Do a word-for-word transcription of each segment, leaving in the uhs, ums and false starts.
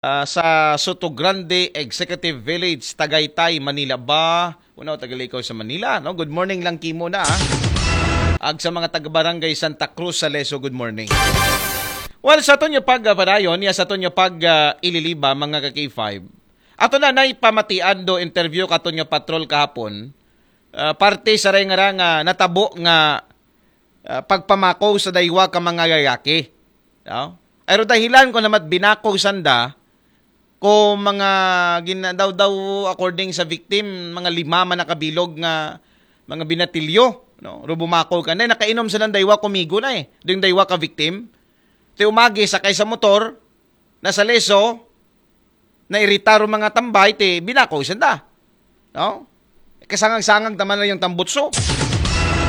Ah, sa Soto Grande Executive Village, Tagaytay, Manila ba? Una, tagalikaw sa Manila, no? Good morning lang kimo na, ah. Ag sa mga taga-barangay Santa Cruz sa Leso, good morning. Well, sa aton nga pagpadayon, ya sa aton nga pag, ah, ililiba, mga ka-K five. Ato na nay pamatian do interview katon nga patrol kahapon. Ah, parte sa ray nga ra nga natabo nga, ah, pagpamako sa daywa ka mga lalaki. No? Pero dahilan ko namat binako sanda, ko mga ginadaw daw, according sa victim, mga lima man nakabilog nga mga binatilyo, no? Ro bumako ka na, nakainom sa daywa kumigo na eh. Doon daywa ka victim. Ti umagi sakay sa motor, nasa Leso, nairita ro mga tambay, ti binako sanda. No? Kasangag-sangag naman na yung tambutso.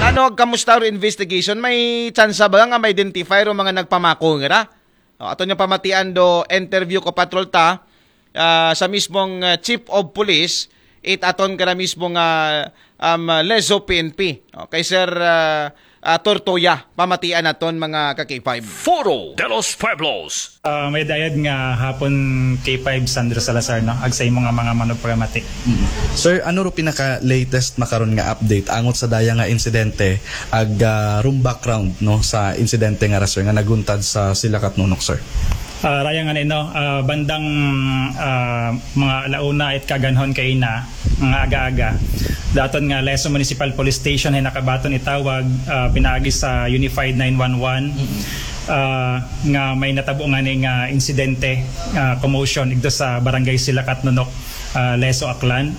Ano, kamusta ro investigation? May tsansa ba nga ma-identify ro mga nagpamako nga ra? O, aton nga pamatian do interview ko patrol ta, ah, sa mismong, ah, Chief of Police, it aton ka na mismo nga, um, Leso P N P. O, kay Sir, ah, ah, Tortoya, pamatian naton mga ka-K five. Foro de los Pueblos. Ah, may dayad nga hapon K five Sandro Salazar, no? Ag sa imo nga mga manugparamati. Sir, ano ro pinaka-latest makaron nga update angot sa daya nga insidente ag ah, rum background, no, sa insidente nga ra, sir, nga naguntad sa Silakat Nonok, sir? Ah, raya nga ni, no, ah, bandang ah, mga alauna it kaganhon kaina nga aga-aga, daton nga Leso Municipal Police Station ay nakabaton itawag ah, pinaagi sa Unified nine one one, ah, nga may natabo nga ni nga insidente, ah, commotion igdo sa barangay Silakat Nonok, ah, Leso, Aklan.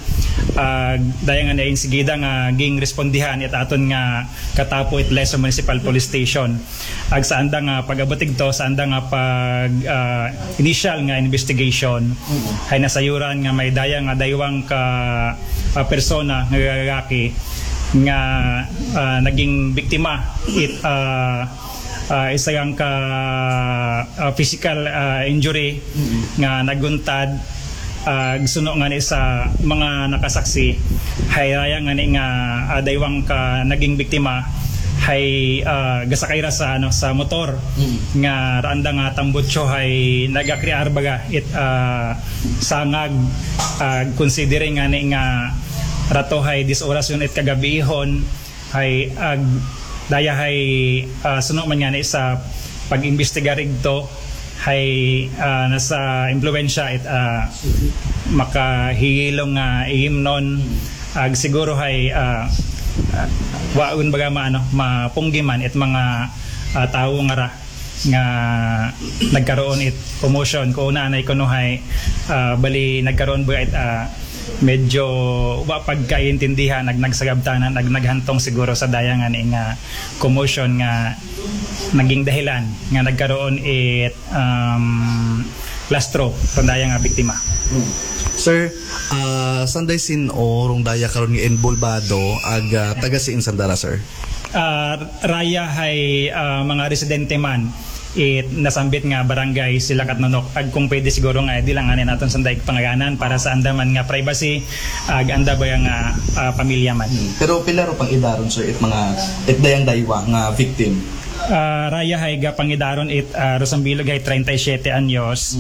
Ah, daya nga ni insigida nga ging respondihan it aton nga katapo it Leso Municipal Police Station. Ag sa anda nga pag-abot igto, sa anda nga pag ah, initial nga investigation, hay nasayuran nga may daya nga daywang ka ah, persona nga lalaki nga ah, naging biktima it ah, ah, isa lang ka ah, physical ah, injury nga naguntad. Ah, suno nga ni sa mga nakasaksi, hay raya nga ni nga ah, daywang ka naging biktima hay ah, gasakay ra sa ano, sa motor nga raanda nga tambutso hay nagakriar baga it ah, sangag, ah, considering nga ni nga rato hay dis oras yun it kagabihon, hay ag daya hay ah, suno man nga ni sa pag-imbestigar igto, hay ah, nasa impluwensya it ah, makahiyilong nga ihimnon. Ag siguro hay ah, ah, waon baga ma ano, mapunggi man it mga ah, tawo nga ra nga nagkaroon it commotion. Ko una anay kuno hay ah, bali nagkaroon ba it ah, medyo wa pagkaintindihan, nag nagsagabtanan, nag naghantong siguro sa daya nga ni nga commotion nga naging dahilan nga nagkaroon it um, lastro rong daya nga biktima. Sir, ah, sanday sin-o rong daya karon nga inbolbado ag ah, taga siin sanda ra, sir? Ah, raya hay ah, mga residente man it nasambit nga barangay Silakat Nonok. Ag kung pwede siguro nga di lang ani naton sanday pangayanan para sa anda man nga privacy ag anda ba nga ah, pamilya man. Pero pila ro pang-idaron, sir, it mga it dayang daywa nga victim? Ah, raya hay gapangidaron it ah, Rosambilog hay treinta y siete anyos.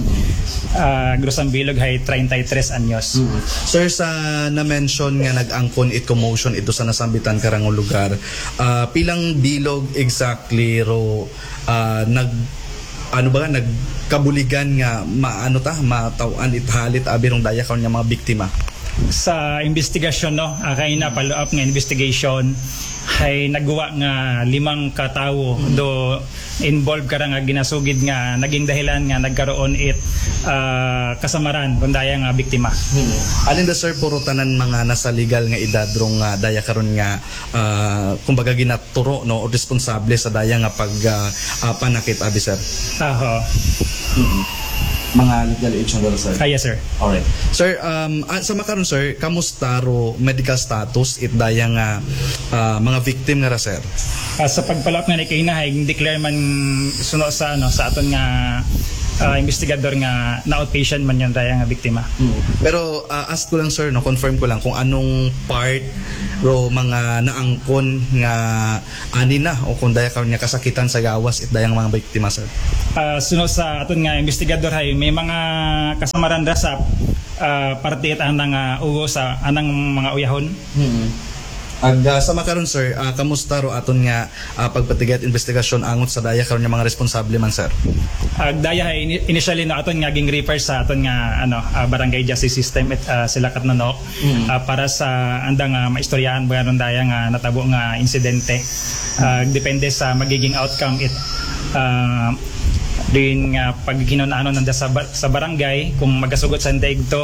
Ah, Rosambilog hay treinta y tres anyos. Sir, sa na-mention nga nag-angkon it commotion ito sa nasambitan karang lugar, ah, pilang bilog exactly ro ah, nag ano ba, nagkabuligan nga maano ta, mataw-an it halit abi rong daya karon nga mga biktima? Sa investigasyon, no, ah, kay na follow up nga investigation, hay nagwa nga limang ka tawo do involved kara nga ginasugid nga naging dahilan nga nagkaroon it ah, kasamaran rong daya nga biktima. Alin da, sir, puro tanan mga nasa legal nga edad rong ah, daya karon nga ah, kumbaga ginaturo, no, o responsable sa daya nga pag ah, ah, panakit abi, sir? Aha. Mga legal age na dara, sir? Ah, yes, sir. Alright. Sir, um, ah, sa makaron, sir, kamusta ro medical status it daya nga ah, mga victim nga ra, sir? Ah, sa pag-follow up nga ni kaina hay declare man suno sa ano, sa aton nga ah, investigador nga na-outpatient man yung daya nga biktima. Pero ah, ask ko lang, sir, no, confirm ko lang kung anong part ro mga naangkon nga ani na o kung daya karon nga kasakitan sa gawas it dayang mga biktima, sir. Ah, suno sa aton nga investigador hay may mga kasamaran ra sa ah, parte it anang ah, ugo sa anang mga uyahon. Ag ah, sa makaron, sir, ah, kamusta ro aton nga ah, pagpatigayat investigasyon angot sa daya karon nga mga responsable man, sir? Ag daya hay ini- initially no aton nga ging refer sa aton nga ano ah, barangay justice system it, ah, sila katnonok ah, para sa andang ah, maistoryaan ba ron daya nga natabo nga insidente. Ah, depende sa magiging outcome it ah, din nga pagkinunanon nanda sa, ba- sa barangay kung magasugot sa daig to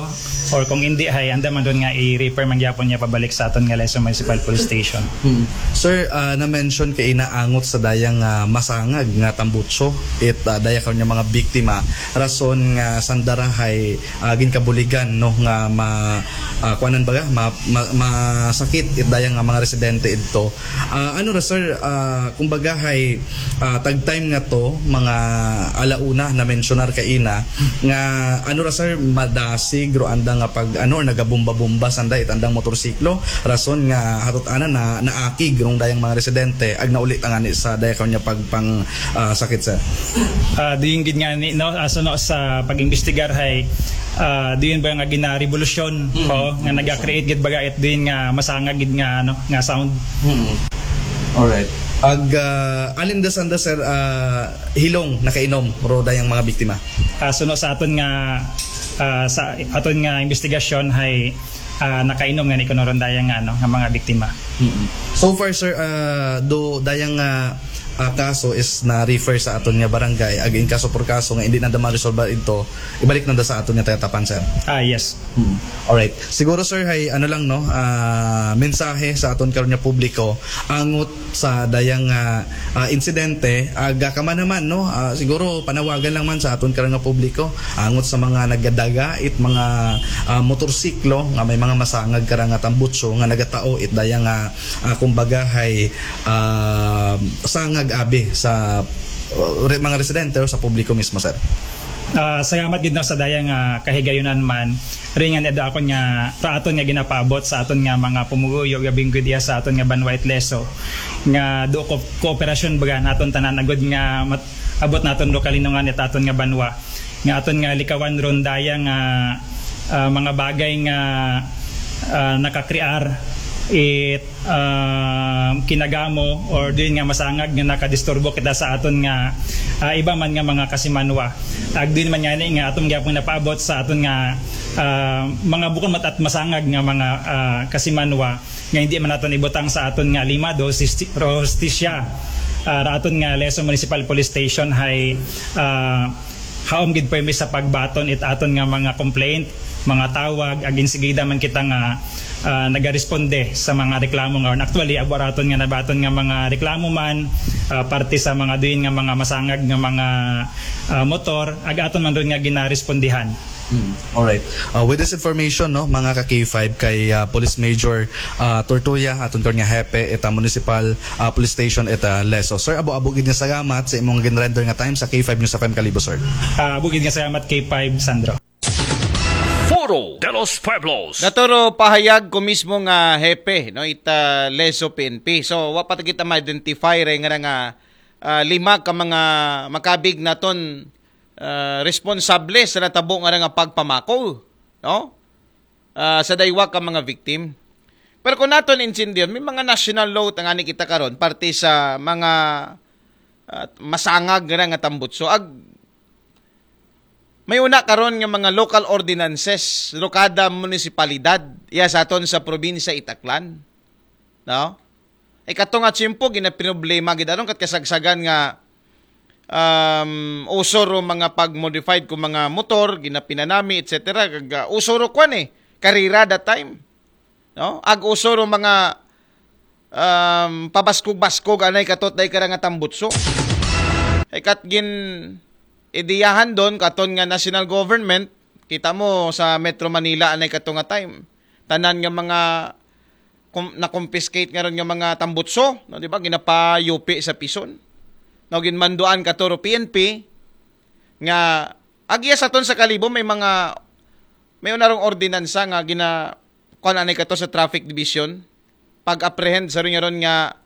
or kung hindi hay anda man doon nga i-refer man gyapon niya pabalik sa aton nga Lezo Municipal Police Station. Sir, ah, na-mention kay inaangot sa dayang ah, masangag nga tambutso it ah, daya karon nga mga biktima, rason nga sanda ra hay ah, ginkabuligan, no, nga ma ah, kuanan baga ma, ma, masakit it dayang nga mga residente idto. Ah, ano ra, sir, ah, kumbaga hay ah, tag time nga to, mga alauna, na-mentionar kaina nga ano ra, sir, madasig ro anda nga pag ano or nagabomba-bomba sanda it andang motorsiklo, rason nga hatot ana na naakig rong dayang mga residente ag nauli ta ngani sa daya karon nga pagpang ah, sakit, sir. Ah, doon gid nga ni no aso no sa pag-imbestigar hay ah, doon ba nga ginarevolusyon ko nga naga-create gid baga it doon nga masangag gid nga ano nga sound. Alright. Ag ah, alin da sanda, sir, ah, hilong nakainom ro dayang mga biktima? Ah, suno sa aton nga ah, sa aton nga investigasyon hay ah, nakainom nga ni kuno ron dayang nga ano nga mga biktima. So far, sir, ah, do dayang nga ah, kaso is na-refer sa aton nga barangay, ag in kaso por kaso nga hindi nanda ma-resolve ito, ibalik nanda sa aton nga tayatapan, sir. Ah, yes. Alright. Siguro, sir, hay ano lang, no, ah, mensahe sa aton karon nga publiko angot sa dayang ah, ah, insidente, aga ka man naman, no, ah, siguro panawagan lang man sa aton karon nga publiko angot sa mga nagadaga it mga ah, motorsiklo nga may mga masangag kara nga tambutso nga nagatao it dayang ah, ah, kumbaga hay ah, sangag abi sa uh, re- mga residente o sa publiko mismo, sir. Ah, salamat gid no sa dayang nga kahigayunan man ringan edo akon nga raaton nga ginapaabot sa aton nga mga pumuguyo gabing gud iya sa aton nga banwa it Lezo nga do ko kooperasyon baga naton tanan agud nga mat, abot naton do kalinungan it aton nga banwa nga aton nga likawan ron daya nga ah, mga bagay nga ah, nakakrear it ah, kinagamo or din nga masangag nga nakadisturbo kita sa aton nga ah, iba man nga mga kasimanwa. Ag din man nga ni nga aton gyapon napaabot sa aton nga ah, mga bukon mat at masangag nga mga ah, kasimanwa nga hindi man naton ibutang sa aton nga lima do sisti- ro hustisya. Ah, ra aton nga Lezo Municipal Police Station hay ah, haom gid permi sa pagbaton it aton nga mga complaint, mga tawag, ag insigida man kita nga ah, nagaresponde sa mga reklamo nga actually abo raton nga nabaton nga mga reklamo man ah, parte sa mga duin nga mga masangag nga mga ah, motor ag aton man ron nga ginarespondihan. Alright. Uh, with this information, no, mga ka K five, kay uh, Police Major uh, Tortuya, aton karon nga hepe ita Municipal uh, Police Station ita Lezo. Sir, abo-abo gid nga salamat sa imong ginrender nga time sa K five News F M Kalibo, sir. Ah, bukid nga salamat K five Sandro. Foro de los Pueblos. Naturo pahayag ko mismo nga hepe, no, ita Lezo P N P. So wa pa ta kita ma-identify ray nga nga ah, lima ka mga makabig naton ah, responsable sa natabo nga nga pagpamako, no? Ah, sa daywa ka mga victim. Pero kung naton intindihan, may mga national law ta ngani kita karon parte sa mga ah, masangag nga nga tambutso. Ag may una karon nga mga local ordinances ro kada munisipalidad iya sa aton sa probinsya Itaklan. No? Ay kato nga tiyempo ginaproblema gid aron kat kasagsagan nga um, uso ro mga pag-modified ko mga motor, ginapinanami, et cetera. Kag uh, uso ro kwan eh, karira that time. No? Ag uso ro mga um, pabaskog-baskog anay katot day kara nga tambutso. Ay kat gin ideyahan don katon nga national government, kita mo sa Metro Manila anay kato nga time. Tanan nga mga kum, na-confiscate nga ron nga mga tambutso, no, di ba? Ginapayupi sa pison. No, ginmanduan kato ro P N P nga Agiya sa aton sa Kalibo, may mga, may unarong ordinansa nga gina, kuan anay kato sa traffic division. Pag-apprehend sa ron nga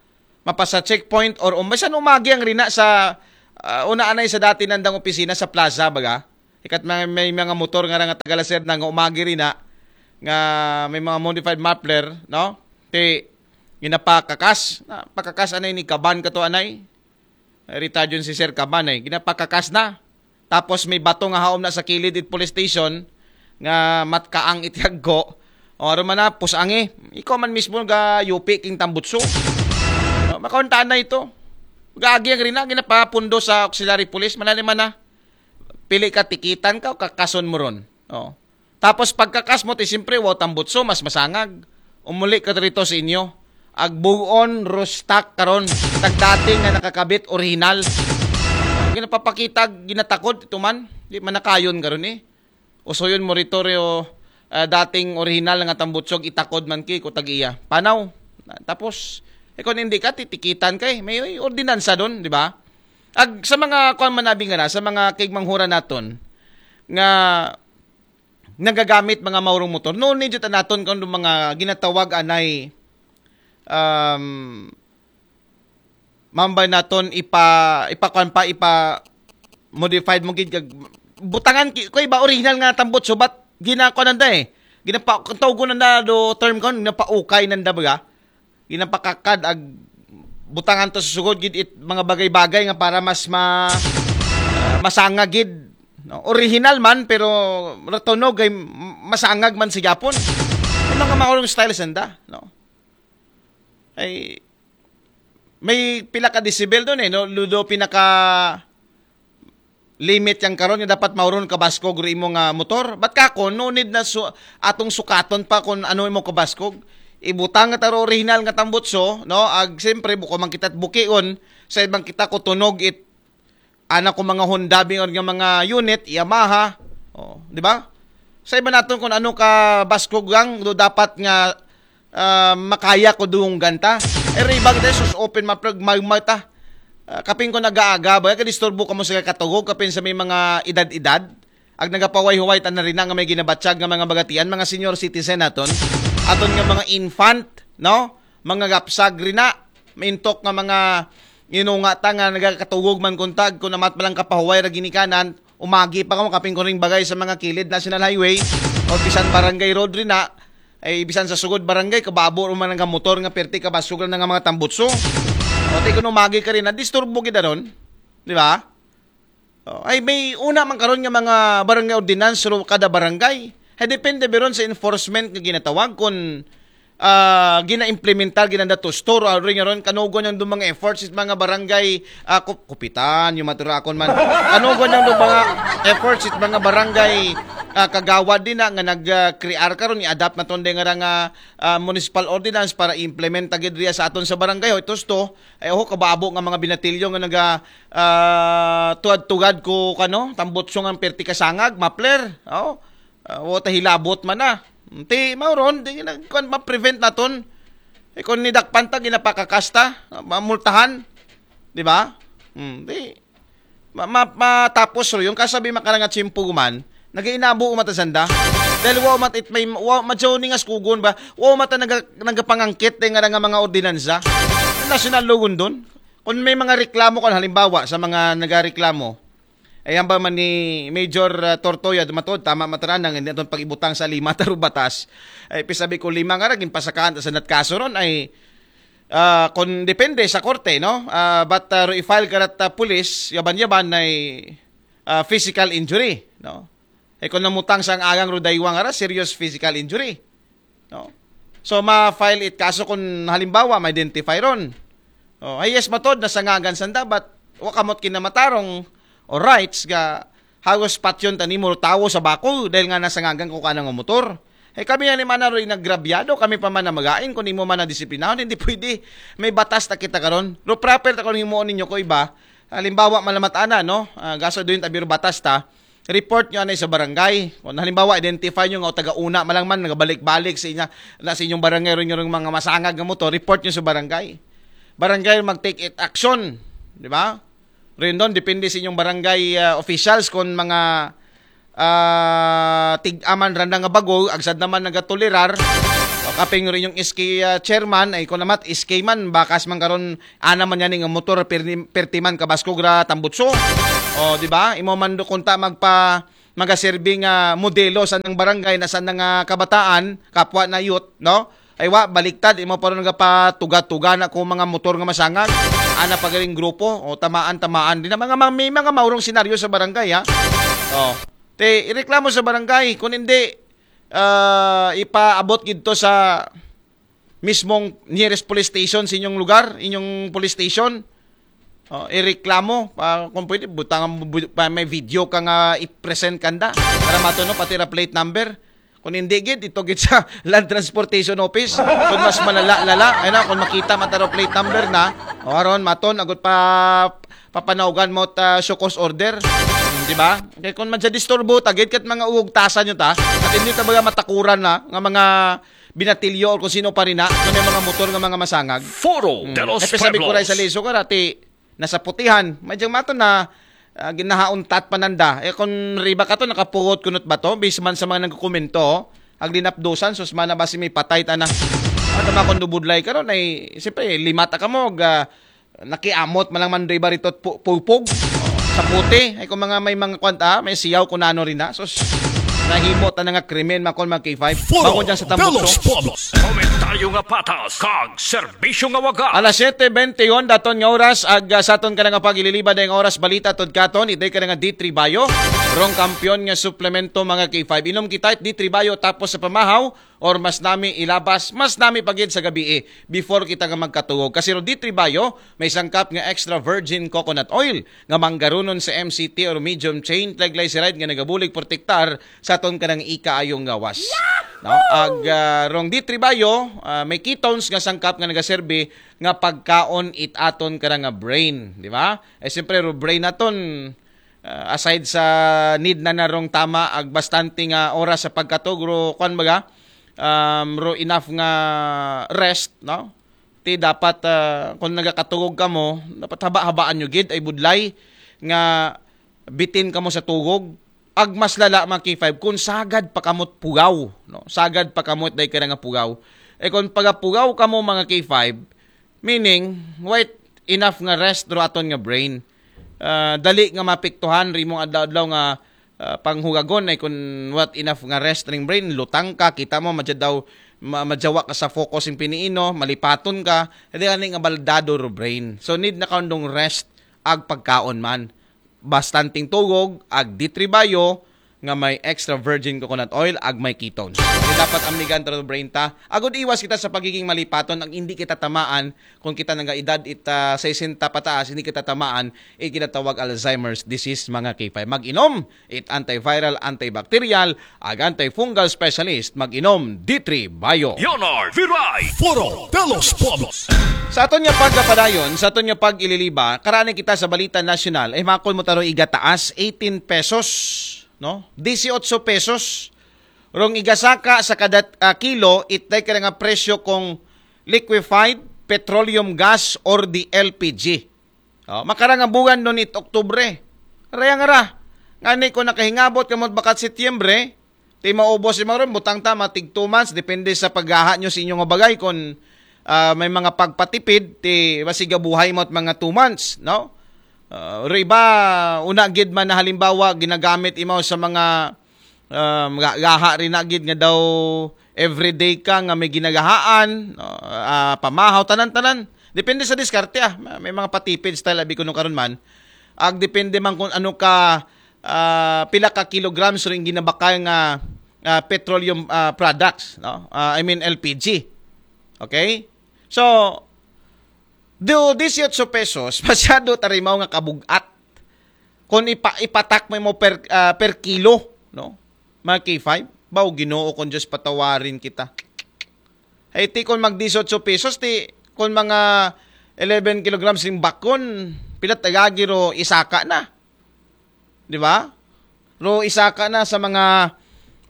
mapasa checkpoint or um, bisan umagi ang rina sa, ah, una anay sa dati nandang opisina sa plaza, baga. Ikat may, may mga motor nga nga tagalaser na nga umagi rina nga may mga modified muffler, no? Ti, ginapakakas, na, pakakas anay ni kaban kato anay. Rita Jun si Sir Kaban eh. Ginapakakas na. Tapos may bato nga haom na sa kilid it police station nga matkaang itiaggo. O, aron man na, pusangi. Ikaw man mismo ga yupi king tambutso. O, makaunta na ito. Gaagi ang rina, ginapapundo sa auxiliary police. Manali man na. Pili ka, tikitan ka o kakason mo ron. O. Tapos pagkakas mo, ti siyempre, wow tambutso, mas masangag. Umuli ka rito sa inyo. Agbuon, rustak karon. Tagdating nga nakakabit, original. Ginapapakita, ginatakod, ito man. Di man nakayon karon eh. Usuyon mo rito, Rio, ah, dating original nga tambutsog, itakod man ki, kutag iya. Panaw. Tapos, eh, kung hindi ka, titikitan ka eh. May ordinansa doon, di ba? Ag, sa mga, kuan man abi nga na, sa mga kigmanghura naton, nga nagagamit mga maurong motor. Noon ni jud naton kung mga ginatawag anay, um, mambay naton ipa, ipakuan pa, ipa modified mo gid kag butangan ki, ko iba original nga tambutso, but ginakuan nanda eh. Ginapa, tawgon nanda do term kon, ginapaukay nanda baga. Ginapakakad ag butangan to sa sugod gid it mga bagay-bagay nga para mas ma, ah, masangag gid, no? Original man pero ratunog ay masangag man sa Japon. Yung mga maurong style sanda, no? Ay may pila ka decibel doon eh, no? Ludo pinaka limit yang karon nga dapat mauron kabaskog ro imo nga motor. But kako, no need na su-, atong sukaton pa kung ano imo kabaskog. Ibutang nga taro original nga tambutso, no? Ag siyempre, buko man kita bukion, sa ibang kita ko tunog it, ana ko mga Honda, bingon nga mga unit, Yamaha, oh, di ba? Sa iba naton kung ano ka baskog lang, do dapat nga ah, makaya ko dunggan ta. Pero iba kita, sus, open ma, plag, magmata. Ah, kapin ko nag-aaga, ba, kadisturbo ka mo sa katugog, kapin sa may mga edad-edad. Ag nagapaway-huway ta na rin nga may ginabatsag nga mga bagatian, mga senior citizen naton. Aton nga mga infant, no? Mga gapsag rin na. Maintok nga mga inunga ta nga nagakatugog man kuntag, kung amat palang kapahuway ra ginikanan, umagi pa kamo kapin ko ring bagay sa mga kilid National Highway o bisan barangay road rin na, ay bisan sa sugod barangay, kababo ro man nga motor nga perti kabasog lang nga mga tambutso. O, ti kun umagi ka rin na, disturbo kita ron. Di ba? O, ay may una man karon nga mga barangay ordinance ro kada barangay. Ay depende biron sa enforcement nga ginatawag kung ah, gina-implementar, ginanda to store, ah, ring aron, kanugon yang do mga efforts it mga barangay, ah, kup-, kupitan, yung maturakon man. Kanugon yang do mga efforts it mga barangay, ah, kagawad din na, nga nag, ah, crear karon, i-adapt na tonde nga ra nga, ah, municipal ordinance para implement agad riya sa aton sa barangay. Hoy, tusto, ay, oho, kababo nga mga binatilyo nga naga, ah, tuwad-tugad ko, kano, tambutso nga perti kasangag, mapler, oh, ah, wata hilabot man na. Ti mao ron, di na kuan ma-prevent naton. E, kung nidakpan ta, ginapakakasta, mamultahan, di ba? Hmm, di ma, ma, matapos ro yung kasabi makarang at simpuguman, nagainabo umat sanda. Dahil wa umat it may wa madyaw ni nga skugon ba? Wa umat ang naga, nagapangangkit dahil nga nga mga ordinansa. National law doon. Kung may mga reklamo, kung halimbawa sa mga nagareklamo, ay, ang ba man ni Major, ah, Tortoya, dumatod, tama mataranang, hindi itong pag-ibutang sa lima taro batas. Ay, pisabi ko lima nga ra, ginpasakaan ta sa natkaso ron, ay, ah, kung depende sa korte, no? Ah, but, ah, ro i-file ka rat, ah, pulis, yaban-yaban ay, ah, physical injury, no? Ay, kung namutang sa ang agang ro daywa nga ra, serious physical injury. No? So, ma-file it kaso kung halimbawa, ma-identify ron. Oh, ay yes, matod, nasangagan sanda, but wakamot kinamatarong o rights ga hagos patyon tanimo tawo sa bako dahil nga nasangagan ko kanang motor. Ay kami nga ni mana ro inagrabyado, kami pa man na magain, kung imo man na disiplinahon, hindi pwede. May batas ta kita karon. Ro proper ta kung himuon ninyo ko iba. Halimbawa, malamat ana, no? Ah, gaso doon tabi ro batas ta. Report nyo anay sa barangay. Kung halimbawa, identify nyo nga o taga-una malang man, nagabalik-balik sa inya, na sa inyong barangay, ron yung mga masangag nga motor, report nyo sa barangay. Barangay mag-take it action. Di ba? Rin doon, depende sa inyong barangay, ah, officials kung mga ah, tig-aman randa nga bago, agsad naman nagatolerar. O, kaping rin yung S K, ah, chairman, ay ko namat, S K man, bakas man karon, ana man yan nga motor, perti, perti man kabaskog ra tambutso. O, di ba? Imo man do kunta magpa, magaserbi nga modelo sa nang barangay na sa nang, ah, kabataan, kapwa na youth, no? Ay wa, baliktad, imo pa ron nga patuga-tuga na kung mga motor nga masangag. Ana pa galing grupo, o tamaan, tamaan. Di na mga, mga, may mga maurong senaryo sa barangay, ha? O. Te, ireklamo sa barangay. Kung hindi, ah, ipaabot gid to sa mismong nearest police station sa inyong lugar, inyong police station. O, ireklamo. Pa, kung pwede, butang, bu, pa, may video ka nga i-present kanda. Para mato, no, pati ra plate number. Kung hindi gid, ito gid sa Land Transportation Office. Kung mas malala-lala, ay na, kung makita mataro plate number na, o aron, maton, agot pa, papanaugan mo ta show cause order. Hmm, di ba? Kaya kung madya disturbo, tagid kat mga uhugtasan nyo ta, at hindi ta baga matakuran na, nga mga binatilyo o kung sino pa rin na, kung may mga motor nga mga masangag. Foro Hmm. de los Ay, pasabi ko rin sa Pueblos. Liso ka, dati, nasa putihan. May diyang mato na, ah, ginahauntat pananda. Eh, kung riba ka to, nakapugot kunot ba to? Bisman sa mga nagkukomento, aglinapdusan, sus, mana ba si may patay, tana? Ano ba kung dubudlay ka ron? Ay, siyempre, limata ka mo, ga, nakiamot, malang mandoy ba rito, pu-, pupog? Sa puti. Ay, kung mga may mga kwanta, may siyaw kung ano rin na. Sus, nahimo ta na nga krimen, makon mag K five. Foro Bako dyan sa de tambutso. Los Pueblos. Komentaryo nga patas, kag serbisyo nga waga. Alas siyete bente y un, daton nga oras, ag, ah, sa aton ka na nga pag-ililiba na yung oras, balita, tod katon, iday ka na nga D three Bayo. Rong kampiyon nga suplemento, mga K five. Inom kita, D three Bayo, tapos sa pamahaw, or mas nami ilabas, mas nami pagid sa gabi eh, before kita nga magkatulog. Kasi ro D three Bayo, may sangkap nga extra virgin coconut oil, nga manggarunon sa M C T or medium chain triglyceride nga nagabulig protektar sa aton kanang ikaayong gawas. No? Ag, ah, rong D three Bayo, ah, may ketones nga sangkap nga nagaserbi nga pagkaon it aton kanang nga brain, di ba? Eh, siyempre, ro brain naton, ah, aside sa need na narong tama, ag bastante nga oras sa pagkatog, ro, kwan baga, um, ro enough nga rest, no? Ti dapat, ah, kung nagakatugog ka mo, dapat haba-habaan nyo gid, ay budlay, nga bitin ka mo sa tugog, ag mas lala, mga K five, kung sagad pa kamot pugaw, no? Sagad pa kamot day ka nga pugaw. Eh, kung pagapugaw ka mo, mga K five, meaning, wait enough nga rest ro aton nga brain. Ah, dali nga mapiktuhan rimong adlaw-adlaw nga, ah, panghugagon ay kung what enough nga rest ring brain, lutang ka, kita mo, madya daw, ma-, madyawa ka sa focus yung piniino, malipaton ka, hindi ani nga baldado ro brain. So, need na kaundong rest, ag pagkaon man. Bastanting tugog, ag D three Bayo, nga may extra virgin coconut oil, ag may ketones. Kaya dapat amigan ta ro brain ta. Agod iwas kita sa pagiging malipaton, ang hindi kita tamaan, kung kita nang edad it, ah, sesenta pataas, hindi kita tamaan, it kinatawag Alzheimer's disease, mga K five. Mag-inom, it antiviral, antibacterial, ag antifungal specialist, mag-inom, D three Bayo. Leonard Viray. Foro de los Pueblos. Sa aton nga pagkapadayon, sa aton nga pag-ililiba, karani kita sa balita nasyonal, ay makon mo taro igataas, eighteen pesos, no? Dieciocho pesos. Rong igasaka sa kada, ah, kilo, itday ka nga presyo kung liquefied petroleum gas or the L P G. Oh, makarang nga buwan nun it Oktubre. Rayang ra. Ngani ko nakahingabot kamot bakat Setyembre, ti maubos si Maron, butang ta, matig two months, depende sa paggaha nyo sa inyong bagay, kung, ah, may mga pagpatipid, ti masigabuhay mo at mga two months, no? Ah, ro iba, una gid man na halimbawa, ginagamit imaw sa mga, um, ga-, gaha rin na gid nga daw everyday ka nga may ginagahaan, no? Ah, pamahaw, tanan-tanan. Depende sa diskarte, ah. May mga patipid style, abi ko nung karon man. Ag depende man kung ano ka, ah, pila ka kilograms rin ginabakal nga, ah, petroleum, ah, products, no? Ah, I mean, L P G. Okay? So, do dieciocho pesos, masyado tarimaw nga kabugat. Kung ipa-, ipatak mo mo per, ah, per kilo, no? Mga K five, baw Ginoo kung Diyos patawarin kita. Hey, ti kung mag dieciocho pesos, ti kung mga eleven kilograms ring bakon, pilat agagi ro isaka na. Di ba? Ro isaka na sa mga,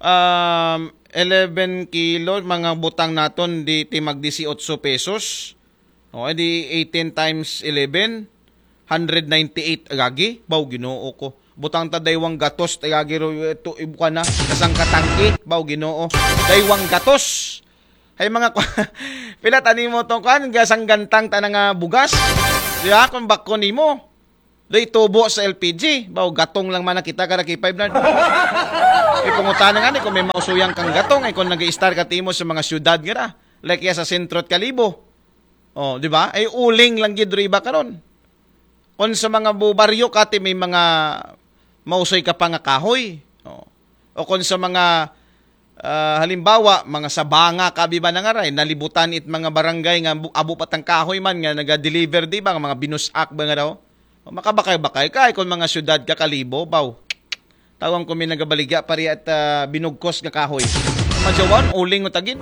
um, eleven kilo, mga butang naton, di ti mag dieciocho pesos. O, di eighteen times eleven, hundred ninety-eight agagi. Baw, Ginoo ko. Butang ta daywang gatos, tagagiro, ito, ibuka na. Kasang katangki, baw, Ginoo. Daywang gatos. Hay mga kwa-, pila tani mo tong kwan, gasang gantang ta na nga bugas. Di ba? Kung bako nimo. Doy tubo sa L P G. Baw, gatong lang man nakita ka na K five na. Ipungutana nga ni kung may mausuyang kang gatong, ay kung nag-i-star ka timo sa mga syudad nga na. Like ya sa sentro at Kalibo. Oh, di ba? Ay uling lang gid ro iba karon. Kung sa mga bu-, baryo kati may mga mausoy ka pa nga kahoy. Oh. O kung sa mga, ah, halimbawa, mga sabanga kabi ba nangaray, nalibutan it mga barangay nga bu-, abo pa tang kahoy man nga naga-deliver, di ba? Nga mga binusak ba nga daw? O, makabakay-bakay kay kung mga syudad ka Kalibo, baw. Tawang ko may nagabaligya pari at, ah, binugkos nga kahoy. Majawan, uling mo tagin.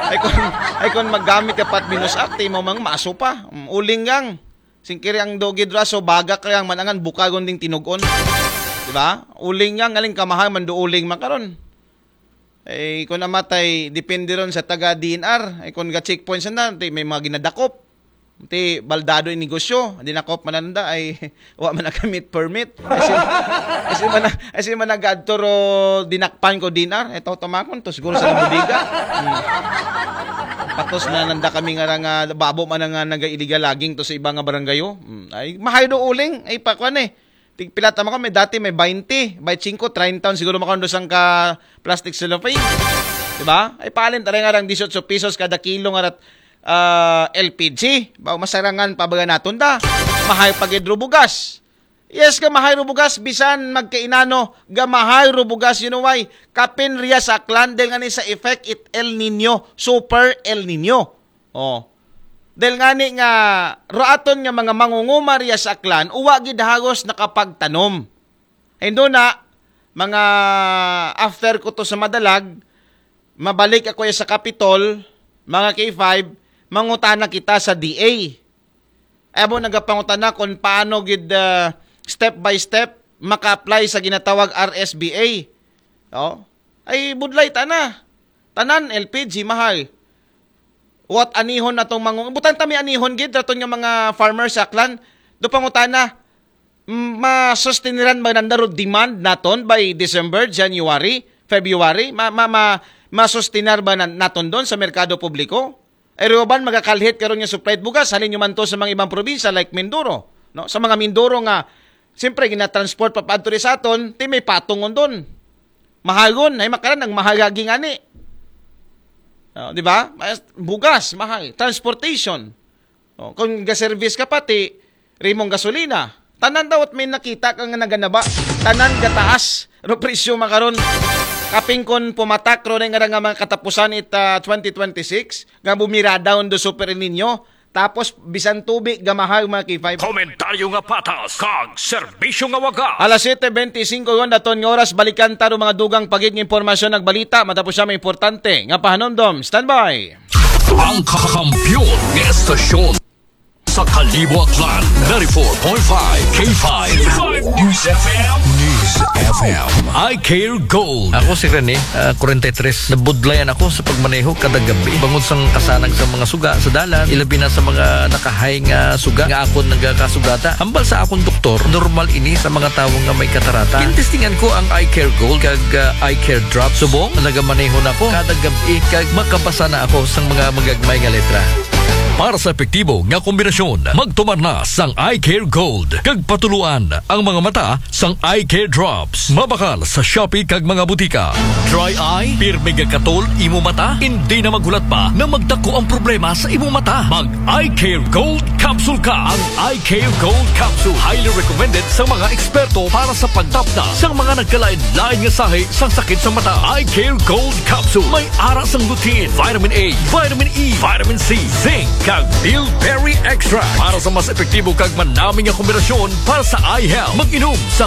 Ay kung, ay kung maggamit ka pat binusak, ti mo mang maso pa. Mm, uling gang. Singkiri ang dogid raso, baga ka yang manangan, bukagon ding tinugon. Di ba? Uling gang, aling kamahal man do uling makaron. Ay, kung namatay, depende ron sa taga D N R. Ay, kung ga-checkpoint sa na, ti may mga ginadakop. Ti baldado in negosyo, dinakop mananda ay wa man nakamit permit. Kasi, kasi man, kasi man nagadto ro dinakpan ko D N R. Ito tumakon to siguro sa bodega. Hmm. Patos na nanda kami nga ra nga babo man nga naga-illegal logging to sa iba nga barangayo. Hmm. Ay, mahay do uling, ay pakwan eh. Tigpila ta mako, may dati may twenty, twenty-five, treinta, siguro mako do sang ka plastic cellophane. Di ba? Ay palin taray nga rang dieciocho pesos kada kilo nga rat, ah, L P G. Ba, masarangan pa ba naton da? Mahay pa gid ro bugas. Yes, ga mahay ro bugas, bisan magkainano, ga mahay ro bugas, you know why? Kapin riya sa Aklan, dahil nga ni sa effect it El Nino, super El Nino. Oh. Dahil nga ni nga, roaton nga mga mangunguma riya sa Aklan, uwa gid hagos nakapagtanom. Ay, doon na, mga after ko to sa Madalag, mabalik ako ya sa Kapitol, mga K five, mangutana kita sa D A. Ay, abo nagapangutana kung paano gid, ah, step by step maka-apply sa ginatawag R S B A. Oh. Ay, budlay ta na. Tanan, L P G, mahal. What anihon na tong mangung-, butang ta may anihon gid, raton nga mga farmers sa Aklan. Do pangutana, mm, masustiniran ba nanda ro demand naton by December, January, February? Ma, ma, ma, masustinar ba na, naton doon sa merkado publiko? Ay, riyo ban magakalhit karon nga supply bugas, halin nyo man to sa mga ibang probinsya like Mindoro, no? Sa mga Mindoro nga, siyempre, ginatransport pa paadto ri sa aton, ti may patungon doon. Mahagon, ay makaran ang mahagaging ani. Oh, di ba? Mas-, bugas, mahal. Transportation. Oh, kung ga-service ka pati, rimong gasolina. Tanan daw at may nakita ka nga naganaba. Tanan gataas. Ro presyo makaron. Kaping kon pumatak ro nga nga mga katapusan it, ah, twenty twenty-six, nga bumira down do Super El Nino. Tapos, bisan tubi, gamahal mga K five. Komentaryo nga patas, kag serbisyo nga waga. Alas siyete bente singko yon daton nga oras, balikan ta ro mga dugang pagig nga impormasyon, nagbalita, matapos siya may importante nga pahanumdom. Standby! Ang kakampiyon nga estasyon sa Kalibo, Aklan, ninety-four point five K five News F M. News F M. I Care Gold. Ako si Rene, ah, forty-three. Nabudlayan ako sa pagmaneho kada gabi. Bangod sang kasanag sa mga suga sa dalan, ilabi na sa mga nakahay nga suga nga akon nagakasugata. Hambal sa akon doktor, normal ini sa mga tawo nga may katarata. Gintestingan ko ang Eye Care Gold kag, ah, Eye Care Drop. Subong, nagamaneho na ako kada gabi kag makabasa na ako sang mga magagmay nga letra. Para sa epektibo nga kombinasyon, magtumar na sang Eye Care Gold kag patuluan ang mga mata sang Eye Care Drops. Mabakal sa Shopee kag mga butika. Dry eye? Pirmi gakatol imo mata? Hindi na maghulat pa na magdako ang problema sa imo mata. Mag Eye Care Gold Capsule ka. Ang Eye Care Gold Capsule highly recommended sa mga eksperto para sa pagtapna sa mga nagkalain-lain nga sahi sang sakit sa mata. Eye Care Gold Capsule may ara sang lutein, vitamin A, vitamin E, vitamin C, zinc, kag bilberry extract para sa mas epektibo kag manami nga kombinasyon para sa eye health. Mag-inom sa